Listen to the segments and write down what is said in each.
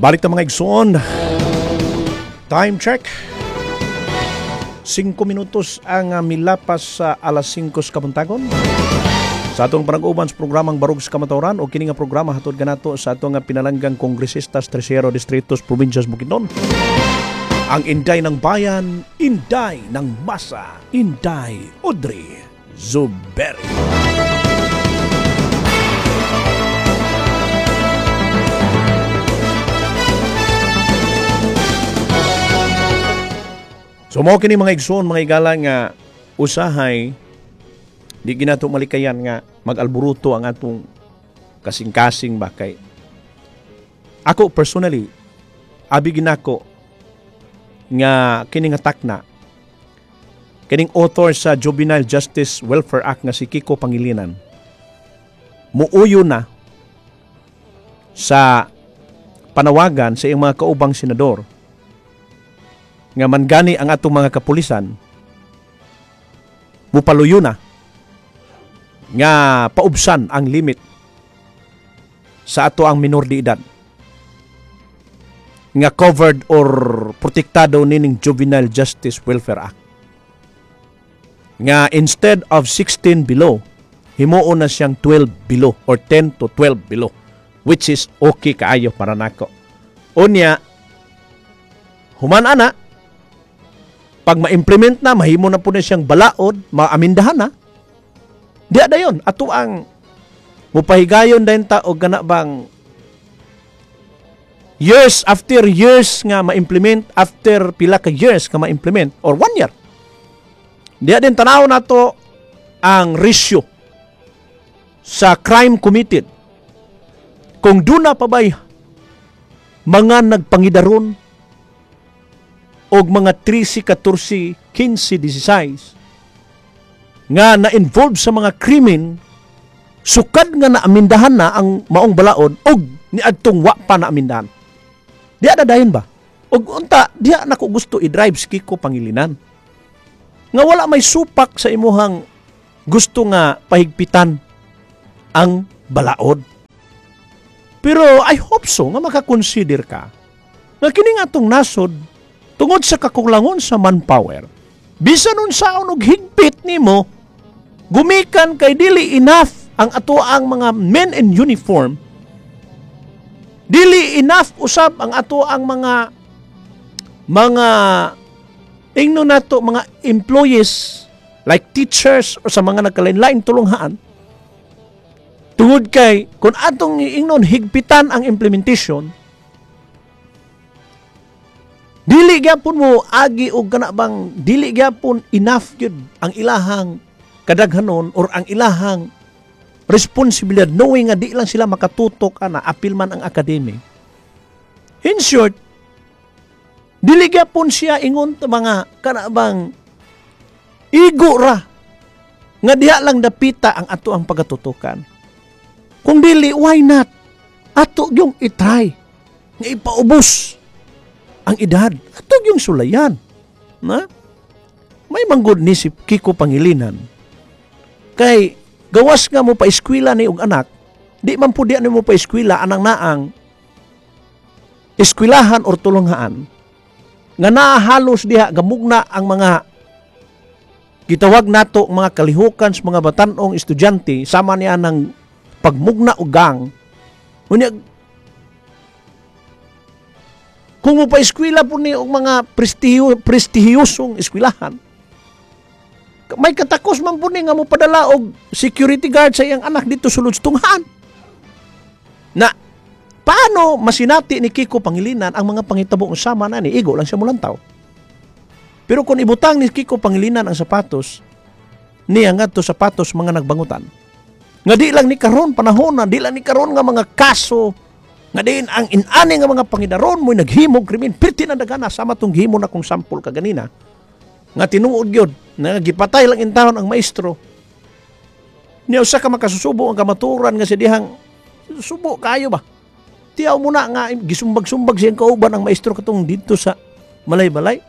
Balik ta, mga igsoon. Time check. 5 minutos ang milapas sa alas 5 sa kabuntagon. Sa atong panag-uban sa programang Barug sa Kamatuoran o kini nga programa hatod kanato sa atong nga pinalanggang kongresista sa Tersero Distrito sa Probinsya sa Bukidnon. Ang Inday ng Bayan, Inday ng Masa, Inday Audrey Zuberi. So mao kini, mga igsoon, mga igala, nga usahay di ginato malikayan nga mag-alburuto ang atong kasing-kasing ba, kay ako personally, abi ginako nga kini nga takna, kining author sa Juvenile Justice Welfare Act nga si Kiko Pangilinan, muuyo na sa panawagan sa iyang mga kaubang senador nga man gani ang atong mga kapulisan mupaluyo na nga paubsan ang limit sa ato ang minor de edad nga covered or protektado nining Juvenile Justice Welfare Act, nga instead of 16 below, himuon na siyang 12 below or 10 to 12 below, which is okay kaayo para nako. Unya human ana, pag ma-implement na, mahimo na po na siyang balaod, maamindahan na di dayon ato ang mupahigayon din ta og kana bang years after years nga ma-implement, after pila ka years nga ma-implement or one year, diya din tanaw nato ang ratio sa crime committed, kung duna pa ba'y mga nagpangidaron og mga 13, 14, 15, 16 nga na-involve sa mga krimen sukad nga naamindahan na ang maong balaod og niadtong wa pa naamindahan. Diya na dayon ba? Og unta, diya nako gusto i-drive si Kiko Pangilinan. Nga wala may supak sa imuhang gusto nga pahigpitan ang balaod. Pero I hope so nga makakonsider ka nga kini nga atong nasod, tungod sa kakulangon sa manpower, bisan unsaon og higpit nimo gumikan kay dili enough ang ato ang mga men in uniform, dili enough usab ang ato ang mga ingno nato mga employees like teachers or sa mga nagkalain-lain tulunghaan, tungod kay kung atong ingnon higpitan ang implementation, dili gyapon mo agi og kana bang dili gyapon enough gyud ang ilahang kadaghanon or ang ilahang responsibilidad, knowing nga di lang sila makatutok ana, apil man ang academy. In short, dili gyapon siya ingon ta mga kana bang igo ra nga diha lang dapita ang ato ang pagatutukan. Kung dili, why not ato yung i-try nga ipaubos ang edad? Ato yung sulayan na may manggod ni si Kiko Pangilinan, kay gawas nga mo pa eskwela ni og anak, di man pud ni mo pa eskwela anang naang eskwelahan or tulunghaan nga naa halos diha gamugna ang mga gitawag nato mga kalihukan sa mga batanong estudyante sama niya ng pagmugna og gang. Unya kung mo pa eskwela po ni og mga prestihiyosong eskwelahan, may katakos man po ni nga mo padala og security guard sa iyang anak dito sulod sa tunghaan. Na paano masinati ni Kiko Pangilinan ang mga pangitabo ng sama na ni igo lang siya mulantaw? Pero kung ibutang ni Kiko Pangilinan ang sapatos niya ngadto sapatos mga nagbangutan, nga di lang ni karon panahon na, di lang ni karon nga mga kaso nga diin ang inani nga mga pangidaron mo'y naghimog krimen pirti na dagana, sama tong gihimo na kong sample kaganina nga tinuod gyud na gipatay lang intawon ang maestro niya, usa ka makasusubo ang kamaturan nga si dihang subo kayo ba. Tiyaw mo na nga gisumbag-sumbag siyang kauban ang maestro katong didto sa Malay-Balay.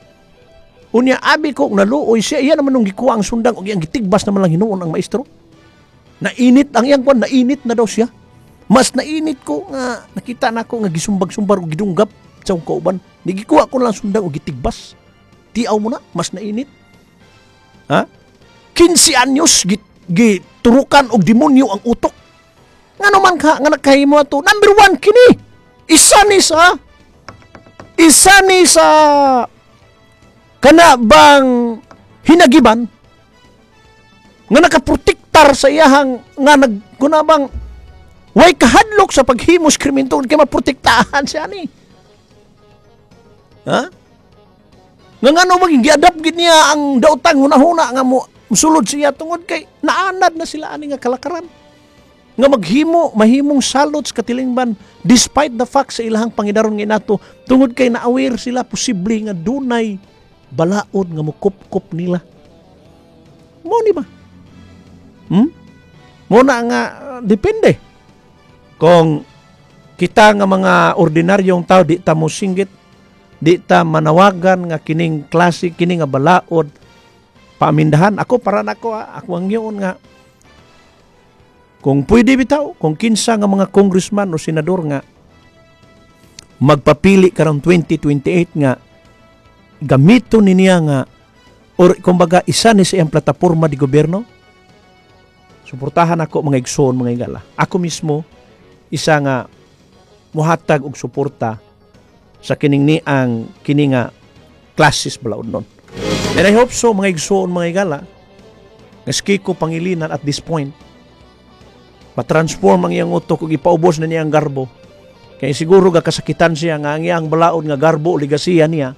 Unya abi ko naluoy siya, iya naman nung gikuha ang sundang ug iyang gitigbas naman lang hinuon ang maestro. Nainit ang iyang kwan, nainit na daw siya. Mas nainit ko nga nakita nako nga gisumbag-sumbar og gidunggap sa akong kauban. Nigikuha ko lang sundang og gitigbas. Tiaw mo na, mas nainit. Ha? 15 anyos giturukan og demonyo ang utok. Ngano man ka nga nakahimo ato? Number one kini. Isa ni sa kana bang hinagiban nga nakaprotektar sa iyahang nga nag kuna bang way kahadlok sa paghimos krimen tungod kay maprotektahan siya ni. Ha? Nga ngano maging giadapt gid niya ang daotang hunahuna nga mo musulod siya tungod kay naanad na sila ani nga kalakaran nga maghimo mahimong salot sa katilingban despite the fact sa ilahang pangidaron nga inato, tungod kay na-aware sila posible nga dunay balaod nga mukupkop nila mo ni ba? Mo na nga depende kung kita nga mga ordinaryong tao di ta mo singgit, di ta manawagan nga kining klase kini nga balaod paamindahan. Ako, para nako ha, ako ang yun nga kung pwede bitaw, kung kinsa nga mga congressman o senador nga magpapili karong 2028 nga gamiton ni niya nga or kumbaga isa ni sa iyang plataporma di gobyerno, suportahan ako, mga igsoon, mga igala. Ako mismo isa nga muhatag og suporta sa kining ni ang kini nga classes balaod nun. And I hope so, mga igsoon, mga igala, nga si Kiko Pangilinan at this point matransform ang iyang utok ug ipaubos na niya ang garbo. Kay siguro ga kasakitan siya nga ang iyang balaod nga garbo o ligasiya niya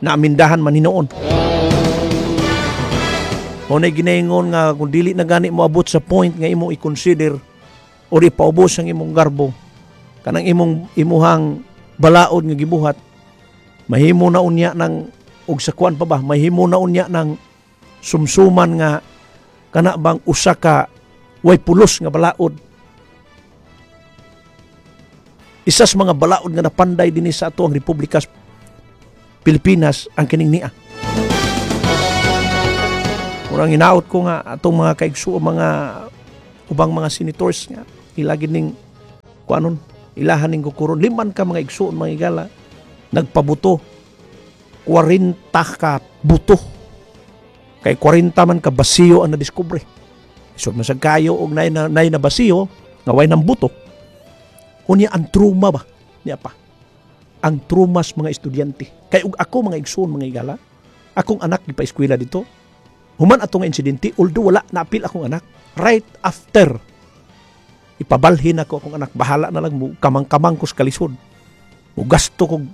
na amindahan man hinuon. Mao na ginaingon nga kung dili na gani moabot sa point nga imo i-consider or ipaubos ang imong garbo, kanang imong imuhang balaod nga gibuhat, mahimo na unya ng og sa kuan pa ba, mahimo na unya ng sumsuman nga kana bang usa ka way pulos nga balaod. Isa sa mga balaod nga napanday dinhi sa ato ang Republika Pilipinas ang kining nia. Murang hinaot ko nga atong mga kaigsuo, mga ubang mga senators nga ilagi ning kuanon, ilahan ning kukuron. Liman ka mga igsuon, mga igala, nagpabuto, 40 ka buto, kay 40 man ka basiyo ang nadiskubre. So masag kayo og nay na basiyo nga way nang buto. Unya ang trauma ba niya pa, ang traumas mga estudyante. Kay og ako, mga igsuon, mga igala, akong anak gipa-eskwela dito human atong insidente, although wala naapil akong anak, right after ipabalhin ako akong anak, bahala na lang mo kamang-kamang ko sa kalisod mo, gasto kog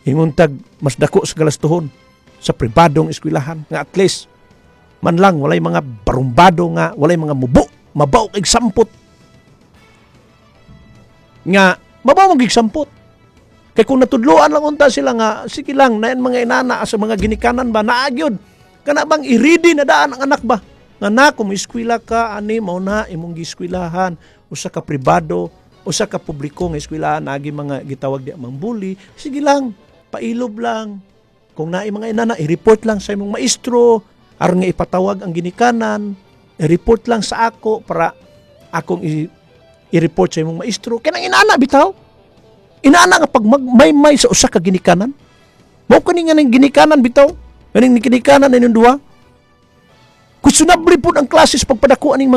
inguntag mas dako sa galastuhon sa pribadong eskwelahan nga at least man lang walay mga barumbado, nga walay mga mubo mabaw kay sampot, nga mabaw mag sampot. Kay kung natudloan lang unta sila nga sige lang nayan mga inana sa mga ginikanan ba, naagyod kana bang i-ready na daan ang anak ba nga na kung eskwela ka ani mao na imong gieskwilahan, usa ka pribado, usa ka publiko nga eskwelahan, agi mga gitawag di mang bully, sige lang, pailob lang. Kung naay mga inana, i-report lang sa imong maestro aron nga ipatawag ang ginikanan, i-report lang sa ako para akong i-report sa imong maestro. Kanang inana bitaw, inana nga pag magmaymay sa usa ka ginikanan, mao kani nga ning ginikanan bitaw, kaning ginikanan inyong duha, questionable pud ang classes pagpadako aning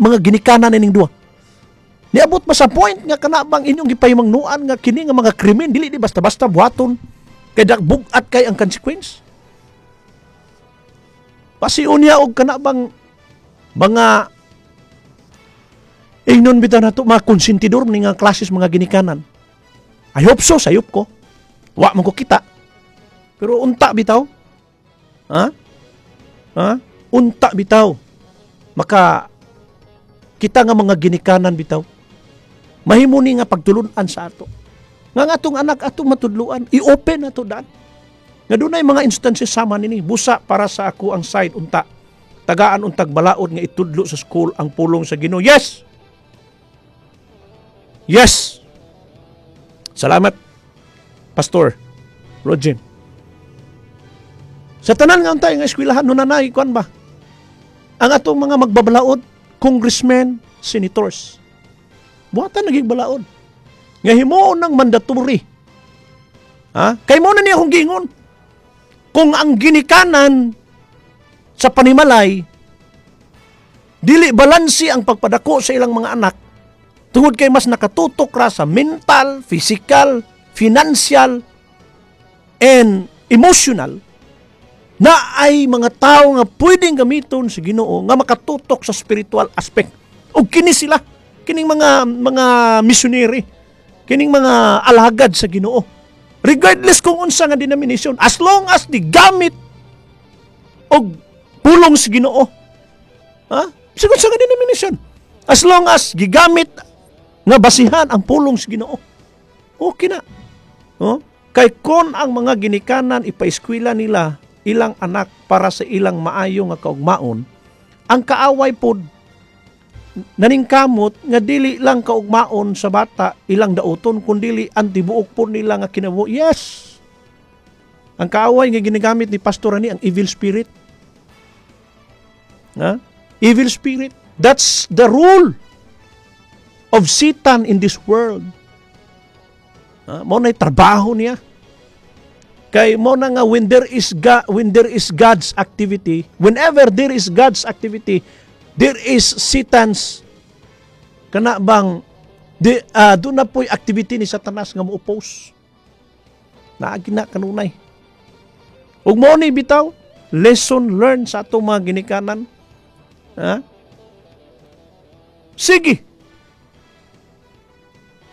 mga ginikanan ining duha. Niabot pa sa point nga kana bang inyong gipahimangnuan nga kini nga mga krimen dili di basta-basta buhaton kay bugat kay ang consequence. Pasiun niya og kana bang mga ingnon bitaw nato mga konsentidor ni nga classes mga ginikanan. I hope so, sayop ko. Wa man ko kita. Pero unta bitaw. Ha? Ha? Unta bitaw. Maka kita nga mga ginikanan bitaw, mahimo ni nga pagtulun-an sa ato. Nga nga atong anak atong matudluan, i-open ato daan. Nga dunay mga instances sama nini, busa para sa ako ang side unta. Tagaan untag balaod nga itudlo sa school ang pulong sa Ginoo. Yes. Yes. Salamat, Pastor Rogin. Sa tanan nga untay nga eskwelahan nunanay kuan ba? Ang atong mga magbabalaod, congressmen, senators. Buhatan na gyud balaod. Nga himuon ng mandatory. Ha? Kay mao na niya akong giingon. Kung ang ginikanan sa panimalay dili balanse ang pagpadako sa ilang mga anak tungod kay mas nakatutok ra sa mental, physical, financial, and emotional, na ay mga tao nga pwedeng gamiton sa Ginoo nga makatutok sa spiritual aspect. O kini sila, kining mga missionary, kining mga alagad sa Ginoo. Regardless kung unsa nga denomination, as long as di gamit og pulong sa Ginoo. Ha? Sigon sa nga denomination. As long as gigamit nga basihan ang pulong sa Ginoo. Okay na. Oh? Kay kon ang mga ginikanan ipaeskwela nila ilang anak para sa ilang maayo nga kaugmaon, ang kaaway pod naningkamot nga dili lang kaugmaon sa bata ilang dauton, kundili ang tibuok po nila nga kinabuhi. Yes. Ang kaaway nga ginagamit ni Pastor ani ang evil spirit. Ha? Evil spirit. That's the rule of Satan in this world. Ha? Mao na'y trabaho niya. Kay mao na nga when there is God's activity, whenever there is God's activity, there is Satan's kana bang di doon na po'y activity ni Satanas nga mo-oppose. Naagi na kanunay. Ug mao ni bitaw lesson learned sa atong mga ginikanan. Ha? Sige.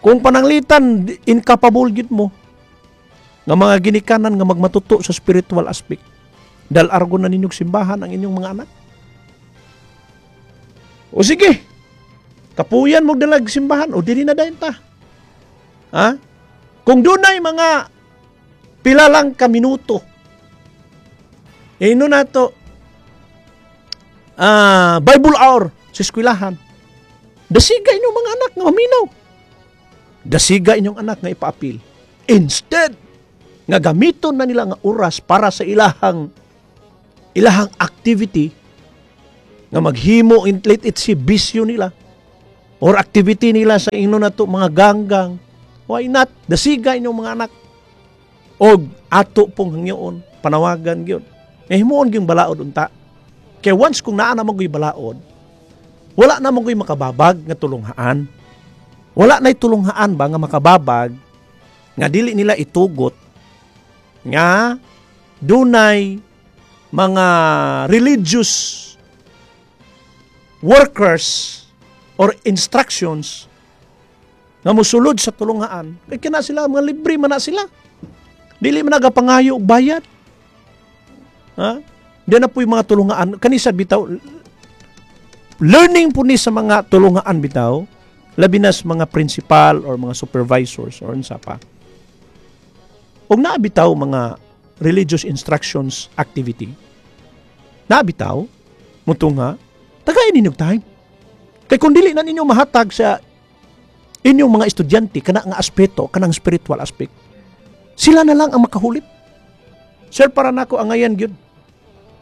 Kung pananglitan incapable gid mo nga mga ginikanan nga magmatuto sa spiritual aspect, dal-argon na ninyong simbahan ang inyong mga anak. O sige, kapuyan mo dalag simbahan o dili na dayon ta. Ha? Kung dunay mga pila lang ka minuto, ino na to, Bible hour sa eskwelahan, dasiga inyong mga anak nga maminaw. Dasiga inyong anak nga ipaapil. Instead, nga gamiton na nila nga oras para sa ilahang ilahang activity nga maghimo in, let it say, bisyo nila or activity nila sa ino na to mga ganggang, why not dasiga inyong mga anak? Og ato pong hangyoon, panawagan gyud nga himuon gyud balaod unta, kay once kung naa na man balaod, wala na man makababag nga tulunghaan. Wala na'y tulunghaan ba nga makababag nga dili nila itugot nga dunay mga religious workers or instructions nga musulod sa tulunghaan, kay kina sila mga libre man na sila, dili man nagapangayo og bayad, ha? Di na po yung mga tulungaan kanisa bitaw, learning po ni sa mga tulungaan bitaw, labi na sa mga principal or mga supervisors or unsa pa. Ug naa bitaw mga religious instructions activity, naa bitaw mutungha, tagay ninyo time, kay kung dili na ninyo mahatag sa inyong mga estudyante kana nga aspeto, kanang spiritual aspect, sila na lang ang makahulip. Sir, para nako angayan gyud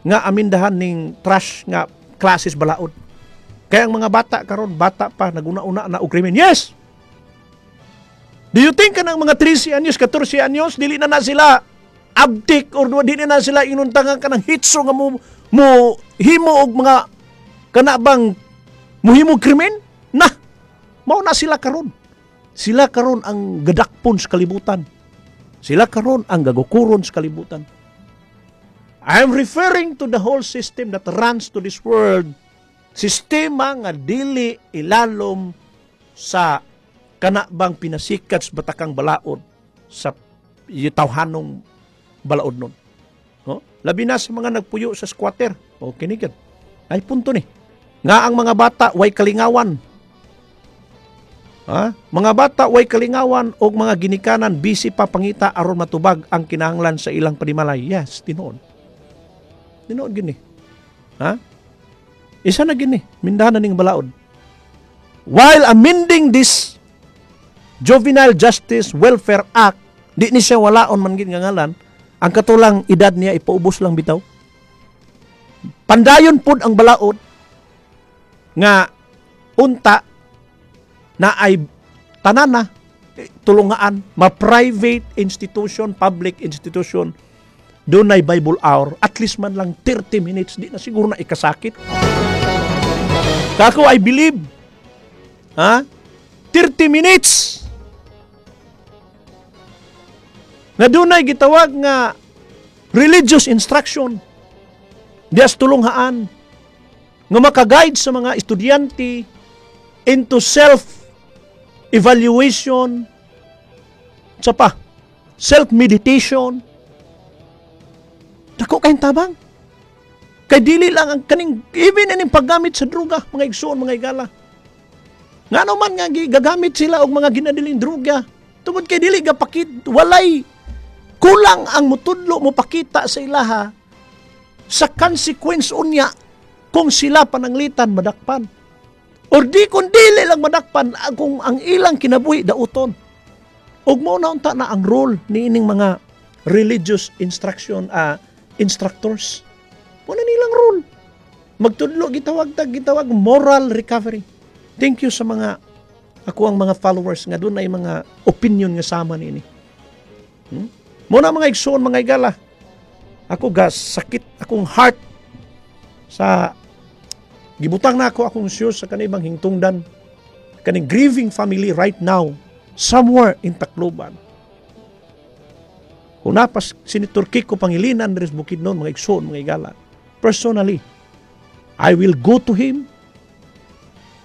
nga amindahan ning trash nga classes balaod. Kaya ang mga bata karon, bata pa, naguna-una na og krimen. Yes. Do you think kanang mga 13 anyos, 14 anyos, dili na na sila abtik or dili na sila inuntangan kanang hitso nga mo himo og mga kana bang muhimo krimen? Na mao na sila karon. Sila karon ang gadakpon sa kalibutan. Sila karon ang gagukuron sa kalibutan. I'm referring to the whole system that runs to this world. Sistema nga dili ilalom sa kana bang pinasikat sa batakang balaod sa tawhanong balaod nun. No? Labi na sa mga nagpuyo sa squatter. O kinigad. Ay punto ni. Nga ang mga bata way kalingawan. Ha? Mga bata way kalingawan og mga ginikanan busy pa pangita aron matubag ang kinahanglan sa ilang panimalay. Yes, tinuod. Tinuod gini. Ha? Isa na gini, mindahan na ning balaod. While amending this Juvenile Justice Welfare Act, di ni siya walaon man gid nga ngalan, ang katulang edad niya ipaubos lang bitaw. Pandayon pud ang balaod nga unta Na ay tanan na tulungaan, ma-private institution, public institution, dunay Bible hour, at least man lang 30 minutes, di na siguro na ikasakit. Kako, I believe, ha? 30 minutes na dunay gitawag nga religious instruction dias tulunghaan nga makaguide sa mga estudyante into self-evaluation, sa pa, self-meditation. Dako kayong tabang. Kay dili lang ang kaning, even ining paggamit sa droga, mga igsoon, mga igala. Ngano man nga gagamit sila og mga ginadiling droga, tungod kay dili gapakit, walay kulang ang mutudlo mo pakita sa ilaha sa consequence unya kung sila pananglitan madakpan. Or di kung dili lang madakpan kung ang ilang kinabuhi dauton. Ug mao na unta na ang role niining mga religious instruction instructors. Mao na nilang role. Magtudlo gitawag moral recovery. Thank you sa mga ako ang mga followers nga dunay mga opinion nga sama niini. Mao na mga igsoon, mga igala. Ako gas sakit akong heart sa gibutang na ako akong shoes sa kanibang hingtungdan kaning grieving family right now somewhere in Tacloban. Kung napas Senator Kiko Pangilinan diri sa Bukidnon, mga igsoon, mga igala, personally I will go to him.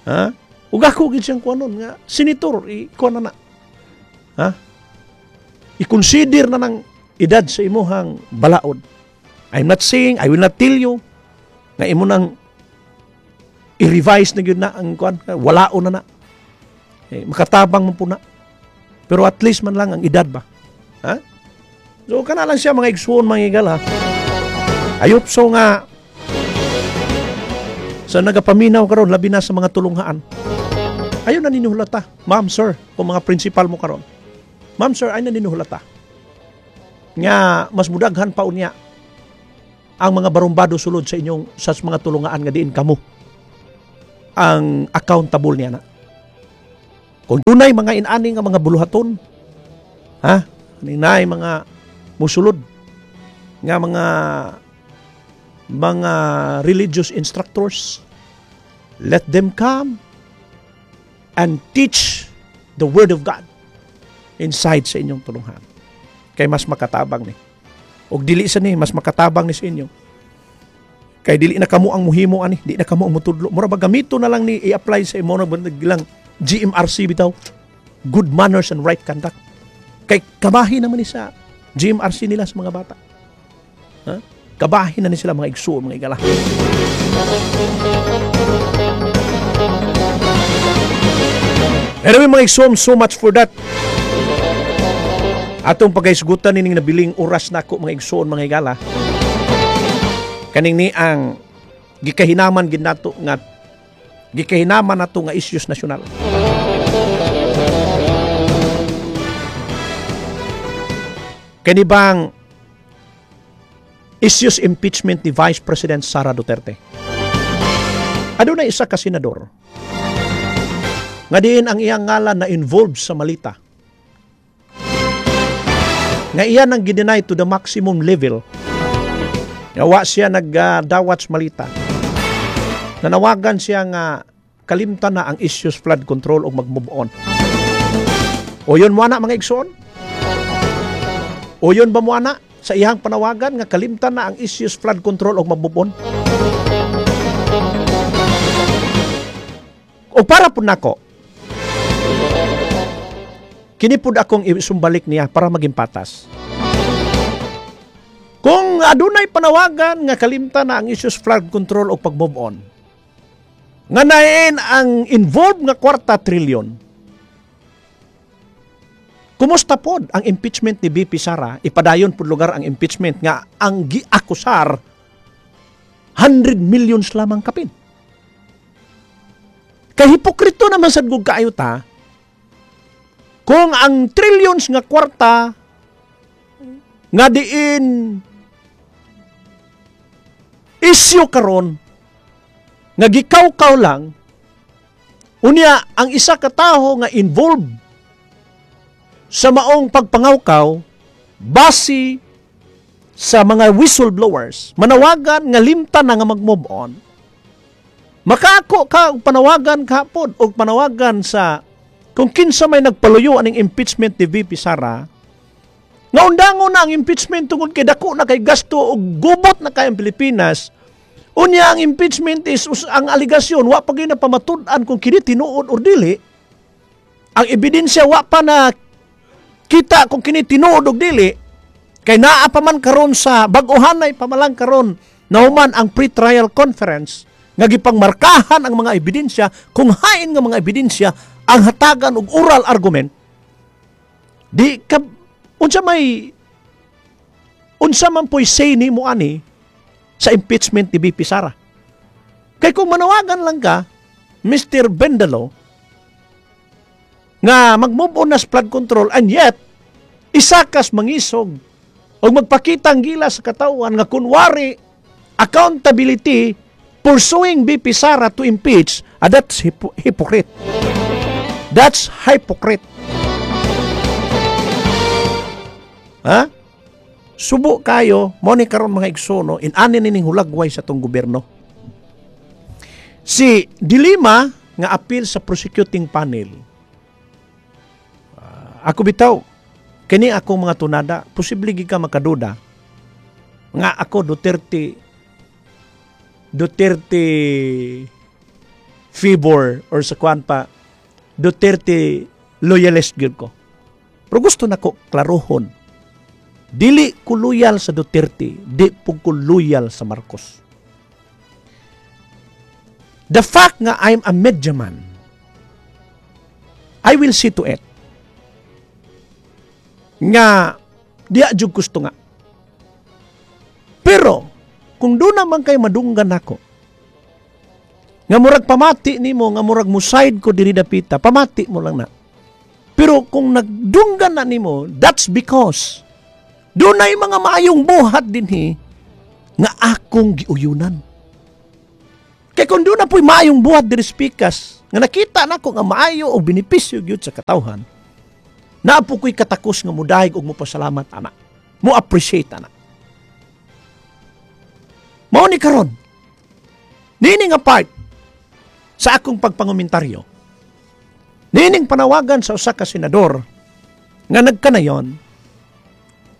Ha? Ug ako gid siyang kuanon nga senator, ikuan na na. Ha? I-consider na ng edad sa imuhang balaod. I'm not saying, I will not tell you nga imo nang i-revise na gyud na ang kuan, walaon na na. Eh, makatabang man po na. Pero at least man lang ang edad ba? Ha? So kana lang siya mga igsuon, mga igala. Ayop so nga sa nagapaminaw karon, labi na sa mga tulunghaan. Ayo na ninyo hulata, ma'am, sir, kung mga principal mo karon. Ma'am, sir, ay na ninyo hulata nga mas mudaghan pa unya ang mga barumbado sulod sa inyong sa mga tulungaan nga diin kamo ang accountable niya na. Kung dunay mga inani nga mga buluhaton, ha? Ninay mga musulod nga mga religious instructors, let them come and teach the word of God inside sa inyong tulunghan. Kay mas makatabang ni. Og dili sa ni, mas makatabang ni sa inyo. Kay dili na kamo ang muhimo ani, di na kamo ang mutudlo. Mura ba gamito na lang ni i-apply sa imo na lang GMRC bitaw. Good manners and right conduct. Kay kabahin naman ni sa GMRC nila sa mga bata. Ha? Kabahin na ni sila mga igsuon, mga igala. Anyway mga igsuon, so much for that. Atong pagkaisgutan nining nabiling oras na ako mga igsuon, mga igala. Kaning ni ang gikahinaman gid nato nga gikahinaman nato nga issues nasyonal. Kani bang issues impeachment ni Vice President Sara Duterte? Aduna isa ka senador nga diin ang iyang ngalan na involved sa malita, nga iyan ang gideny to the maximum level. Nga siya nagdawat sa malita. Nanawagan siya nga kalimtan na ang issues flood control o mag-move on. O yun mo na mga igsoon? O yun ba mo na sa iyang panawagan nga kalimtan na ang issues flood control o mag-move on? O para po nako, kinipod akong isumbalik niya para maging patas. Kung adunay panawagan nga kalimtan na ang issues flood control o pag-move on, nga nain ang involved nga kwarta trilyon, kumusta pod ang impeachment ni BP Sara? Ipadayon pod lugar ang impeachment nga ang giakusar 100 millions lamang kapin. Kay hipokrito naman sad gud kaayo ta kung ang trillions nga kwarta nga diin isyu karon nga gikawkaw lang Unya, ang isa ka tawo nga involved sa maong pagpangawkaw, base sa mga whistleblowers, manawagan nga limtan na nga mag-move on. Makaako ka og panawagan kapod og panawagan sa kung kinsa may nagpaluyo aning impeachment ni VP Sara nga undangon na ang impeachment tungod kay dako na kay gasto og gubot na kay ang Pilipinas. Unya, ang impeachment is ang alegasyon wa pa gyud na pamatud-an kung kini tinuod or dili. Ang ebidensya wa pa na kita kung kini tinuod og dili kay naa pa man karon sa bag-ohanay pa man lang karon nahuman ang pre-trial conference nga gipangmarkahan ang mga ebidensya, kung hain nga mga ebidensya ang hatagan og oral argument. Di ka unsa man po'y say nimo ani sa impeachment ni VP Sara? Kay kung manawagan lang ka, Mr. Bendalo, nga mag-move on na sa flood control and yet isa kas mangisog o magpakita ang gila sa katawhan nga kunwari accountability pursuing VP Sara to impeach, that's hypocrite. That's hypocrite. Ha? Subo kayo, mo ni karon, mga igsoon, in-ani nining hulagway sa tong gobyerno. Si De Lima nga appeal sa prosecuting panel. Ah, ako bitaw, kini ako mga tunada, posible gid ka makaduda nga ako Duterte Duterte favor or sa kwan pa, Duterte loyalist gyud ko. Pero gusto nako klarohon. Dili ko loyal sa Duterte, di pud ko loyal sa Marcos. The fact nga I'm a media man, I will see to it nga diya jud gusto nga. Pero kung doon naman kay madunggan nako, nga murag pamati nimo nga murag muside ko diri dapita, pamati mo lang na. Pero kung nagdunggan na nimo, that's because dunay mga maayong buhat dinhi nga akong giuyunan. Kay kung doon na po'y maayong buhat diri speakers, nga nakita nako nga maayo o benepisyo gyud sa katawhan, naa po ko'y katakos nga mudahig og mopasalamat ana. Mo appreciate ana. Mao ni karon. Nini nga part sa akong pagpangumentaryo. Nining panawagan sa usa ka senador nga nagkanayon,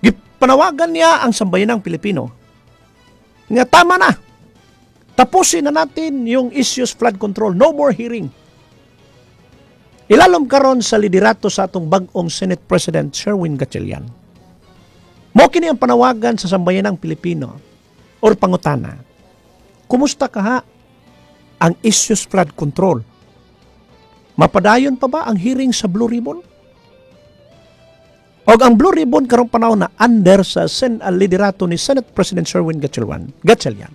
gipanawagan niya ang sambayanang Pilipino nga tama na. Tapusin na natin yung issues flood control. No more hearing. Ilalom karon sa liderato sa atong bag-ong Senate President Sherwin Gatchalian. Mo kini ang panawagan sa sambayanang Pilipino or pangutana. Kumusta ka ha ang issues flood control? Mapadayon pa ba ang hearing sa Blue Ribbon? Og ang Blue Ribbon karong panahon na under sa liderato ni Senate President Sherwin Gatchalian. Gatchalian.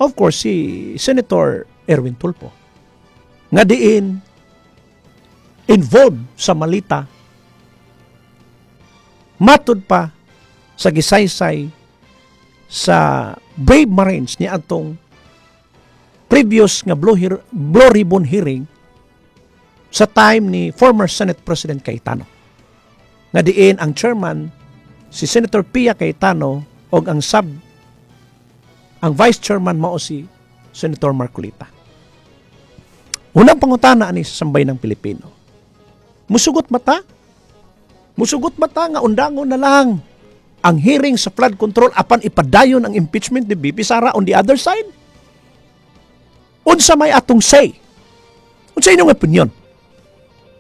Of course, si Senator Erwin Tulfo nga diin involved sa malita matud pa sa gisaysay sa Brave Marines ni atong previous nga Blue Ribbon hearing sa time ni former Senate President Cayetano. Nga diin ang chairman si Senator Pia Cayetano og ang vice chairman mao si Senator Marcoleta. Unang pangutana ani sa sambayanang Pilipino. Musugot mata? Musugot mata nga undangon na lang ang hearing sa flood control apan ipadayon ang impeachment ni VP Sara on the other side? Unsa may atong say? Unsa inyong opinion?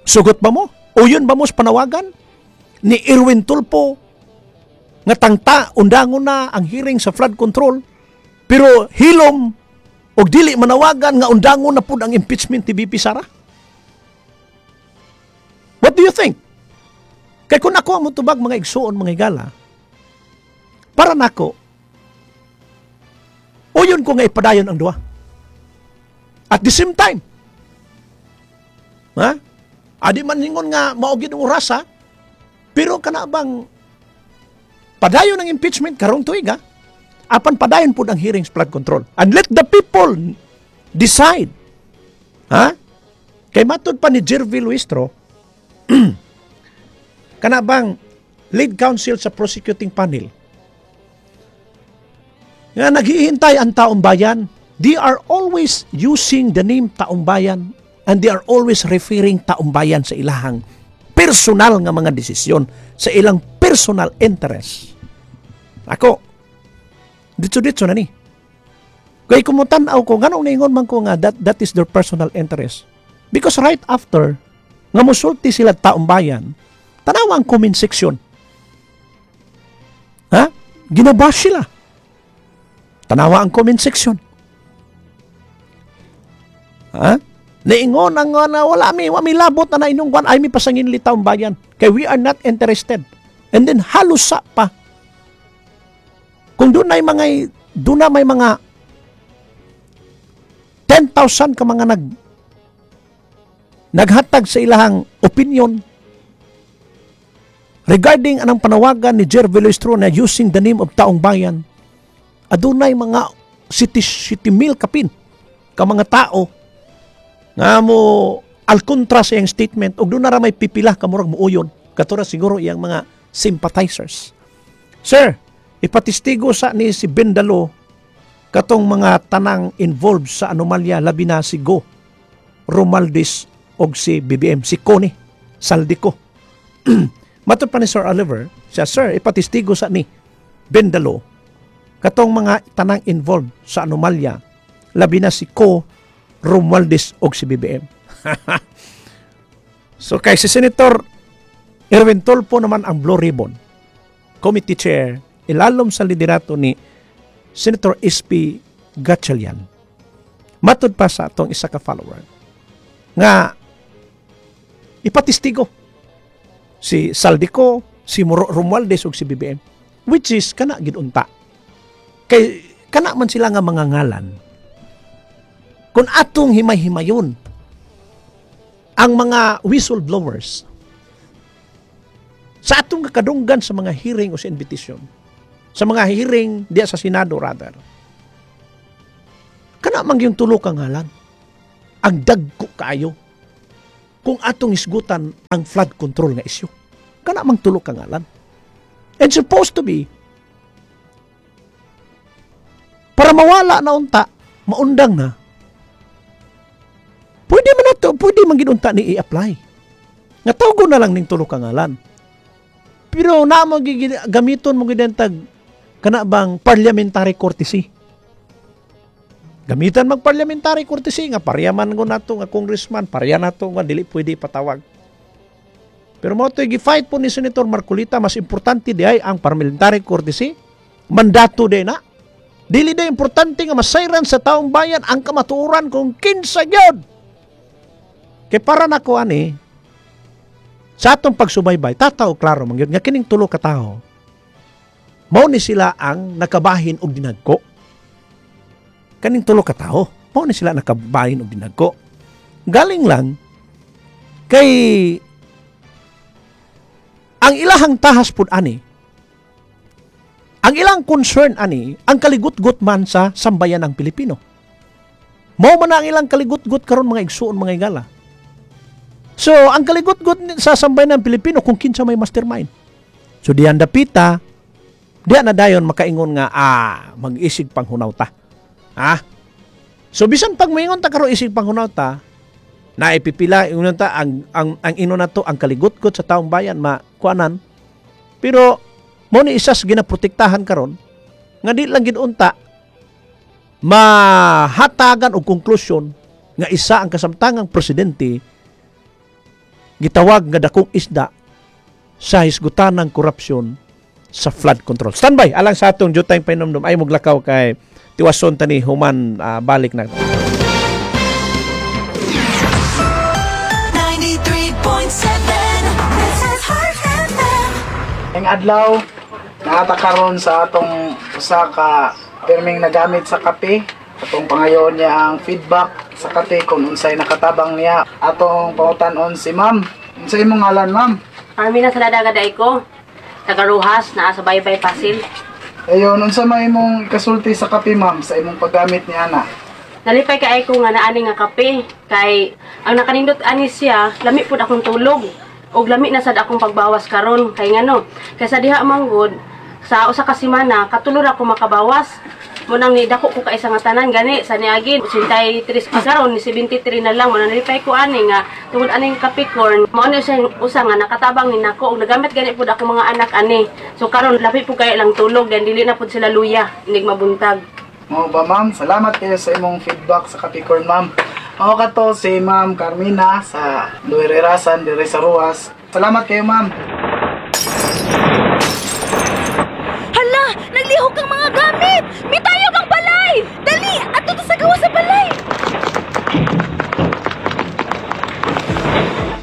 Sugot ba mo? Uyon ba mo sa panawagan ni Erwin Tulfo nga tangta undangon na ang hearing sa flood control pero hilom og dili manawagan nga undangon na pud ang impeachment ni VP Sara? What do you think? Kay kung ako ang mutubag, mga igsuon, mga higala, para nako, uyon ko nga ipadayon ang duha. At the same time. Ha? Adi man ningon nga mao gid ang orasa, pero kana bang padayon ang impeachment karong tuig ha? Apan padayon pud ang hearings flood control. And let the people decide. Ha? Kay matud pa ni Jervil Luistro, kana bang lead counsel sa prosecuting panel, nga naghihintay ang taong bayan. They are always using the name taong bayan and they are always referring taong bayan sa ilahang personal nga mga desisyon, sa ilang personal interest. Ako, ditso-ditso na ni. Kay kumutan-aw ko, nganong naingon man ko nga that is their personal interest? Because right after, nga musulti sila taong bayan, tanawa ang comment section. Ha? Ginabash sila. Tanawa ang comment section. Ha? Naingon ang nga na wala mi labot na inyong kwan ay mi pasangin li taong bayan. Kay we are not interested. And then halos sa pa. Kung doon na may mga 10,000 ka mga naghatag sa ilahang opinion regarding anang panawagan ni Jervil Luistro na using the name of taong bayan, adunay mga city city mil kapin ka mga tao nga mo alkontra sa iyang statement ug doon na ra may pipila ka murag muuyon katura siguro iyang mga sympathizers. Sir, ipatistigo sa ni si Bendalo katong mga tanang involved sa anomalya, labi na si Go Romualdez og si BBM, si Connie Zaldy Co. Matod pa ni Sir Oliver siya, sir, ipatistigo sa ni Bendalo katong mga tanang involved sa anomalya, labi na si Co, Romualdez og si BBM. So kay si Senator Erwin Tulfo naman ang Blue Ribbon Committee Chair ilalom sa liderato ni Senator SP Gatchalian. Matod pa sa atong isa ka follower nga ipatistigo si Zaldy Co, si Romualdez ug si BBM, which is kana gid unta. Kay kana man sila nga mga ngalan. Kung atong himay-himayon ang mga whistleblowers sa atong kakadunggan sa mga hearing o sa invitation, sa mga hearing diya sa Senado rather, kana man yung tulo ka ngalan, ang dagko kaayo kung atong isgutan ang flood control nga issue. Kana mang tulo ka ngalan. And supposed to be, para mawala na unta, maundang na, pwede man nato, pwede man gid unta ni i-apply. Nga tawgon na lang ning tulo ka ngalan. Pero na mo gamiton mo gid tag kana bang parliamentary courtesy. Gamitan mag parliamentary courtesy nga pareha man ko nato nga congressman, pareha nato nga dili pwede ipatawag. Pero mo to'y gi-fight po ni Senator Marcoleta, mas importante di ay ang parliamentary courtesy, mandato di na. Dili di importante nga masayran sa taong bayan ang kamatuoran kung kinsa gyud. Kay para nako ani sa atong pagsubaybay, tataw klaro man gyud nga kining tulo ka tawo mao ni sila ang nakabahin og dinagko. Kaning tulo ka tawo, mao ni sila nakabahin og dinagko. Galing lang kay ang ilahang tahas pud ani, ang ilang concern ani, ang kaligutgot man sa sambayan ng Pilipino. Mao man na ang ilang kaligutgot karon, mga igsuon, mga igala. So, ang kaligutgot sa sambayan ng Pilipino kung kinsa may mastermind. So, diyan dapita, diyan na dayon makaingon nga, mag-isig panghunaw ta. Ah? So, bisan pag maingon ta karon isig panghunaw ta, naipipila, ingon ta, ang ino na to, ang kaligutgot sa taong bayan, makuanan. Pero, mo ni isas ginaprotektahan karon nga di lang gid unta mahatagan og konklusyon nga isa ang kasamtangang presidente gitawag nga dakong isda sa hisgutan ng korupsyon sa flood control. Standby alang sa atong jutay painomdom ay muglakaw kay tiwason tani human balik na. 93.7. This is Heart FM. Ang adlaw, naata karon sa atong usa ka pirming nagamit sa kape. Atong pangayoon niya ang feedback sa kape kung unsay nakatabang niya. Atong pangutan-on si ma'am. Unsay imong ngalan, ma'am? Army na sa dadaga ko. Taga Rojas, naa sa Baybay Pasil. Ayon, unsa may imong kasulti sa kape, ma'am, sa imong paggamit ni ana? Nalipay kay ko nga naani nga kape kay ang nakanindot ani siya, lami pud akong tulog. Og lami na sad akong pagbawas karon kay ngano? Kay sa diha man gud sa usa ka semana katulo ra ko makabawas. Mao nang nidako ko kaisa nga tanan gani sa niagi 83 pa, karon ni 73 na lang. Mao nang nalipay ko ani nga tungod aning Capricorn, mao ni siya usa nga nakatabang ni nako og nagamit gani pud ako mga anak ani. So karon labi pud kay lang tulog, then dili na pud sila luya inig mabuntag. Mao ba, ma'am? Salamat kayo sa imong feedback sa Capricorn, ma'am. Mao kato si Ma'am Carmina sa Luirerasan dire sa Roxas. Salamat kayo, ma'am. Hala! Naglihok ang mga gamit! Mitayog ang balay! Dali! Adto ta sa gawas sa balay!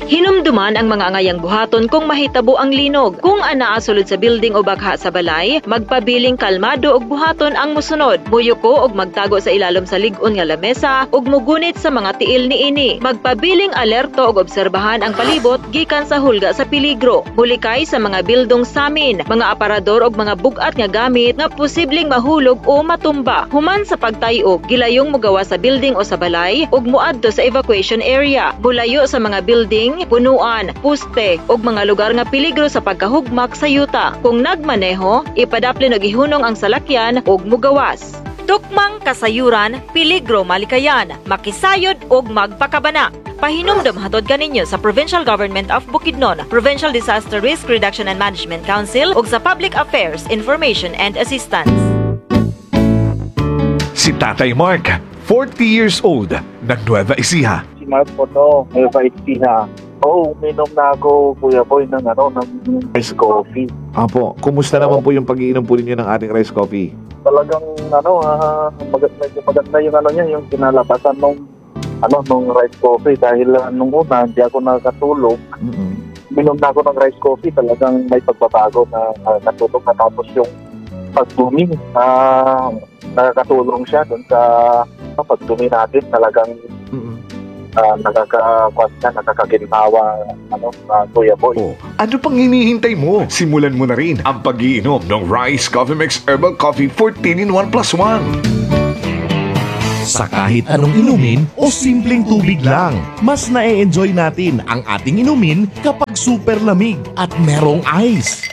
Hinumduman ang mga angayang buhaton kung mahitabo ang linog. Kung anaa sulod sa building o bakha sa balay, magpabiling kalmado og buhaton ang musunod. Muyuko og magtago sa ilalom sa lig-on nga lamesa ug mugunit sa mga tiil niini. Magpabiling alerto og obserbahan ang palibot gikan sa hulga sa peligro. Mulikay sa mga bildong samin, mga aparador og mga bug-at nga gamit nga posibleng mahulog o matumba. Human sa pagtay-og, gilayong mugawas sa building o sa balay ug muadto sa evacuation area. Mulayo sa mga building, punuan, puste ug mga lugar nga peligro sa pagkahugmak sa yuta. Kung nagmaneho, ipadaplin og ihunong ang salakyan ug mugawas. Tukmang kasayuran, peligro malikayan, makisayod ug magpakabana. Pahinumdom hatod kaninyo sa Provincial Government of Bukidnon, Provincial Disaster Risk Reduction and Management Council ug sa Public Affairs Information and Assistance. Si Tatay Mark, 40 years old, ng Nueva Ecija. Si Mark po to, Nueva Ecija. Oo, uminom na ako, Kuya Boy, ng rice coffee. Apo, kumusta naman po yung pag-iinom po ninyo ng ating rice coffee? Talagang medyo maganda yung ano niya, yung kinalabasan nung rice coffee dahil nung una hindi ako nakatulog. Minom na ako ng rice coffee, talagang may pagbabago na nakatulog na, tapos yung pagdumi, nakakatulong siya dun sa pagdumi natin, talagang nakakakuan siya, nakakaginhawa, Kuya Boy. Oh, ano pang hinihintay mo? Simulan mo na rin ang pag-iinom ng Rice Coffee Mix Herbal Coffee 14 in 1 plus 1. Sa kahit anong inumin o simpleng tubig lang, mas na-enjoy natin ang ating inumin kapag super lamig at merong ice.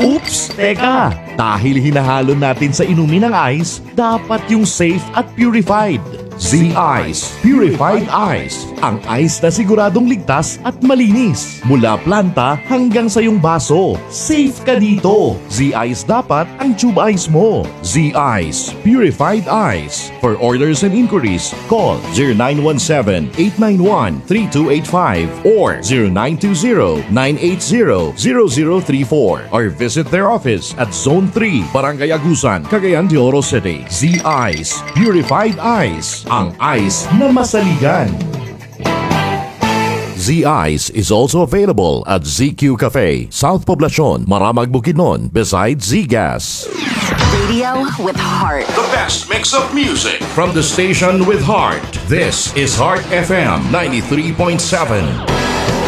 Oops! Teka! Dahil hinahalo natin sa inumin ang ice, dapat yung safe at purified. Z-Ice Purified Ice. Ang ice na siguradong ligtas at malinis. Mula planta hanggang sa iyong baso. Safe ka dito. Z-Ice dapat ang tube ice mo. Z-Ice Purified Ice. For orders and inquiries, call 0917-891-3285 or 0920-980-0034 or visit their office at Zone 3, Barangay Agusan, Cagayan de Oro City. Z-Ice Purified Ice. Ang ice na masaligan. Z-Ice is also available at ZQ Cafe, South Poblacion, Maramag, Bukidnon, beside Z-Gas. Radio with heart. The best mix of music. From the station with heart, this is Heart FM 93.7.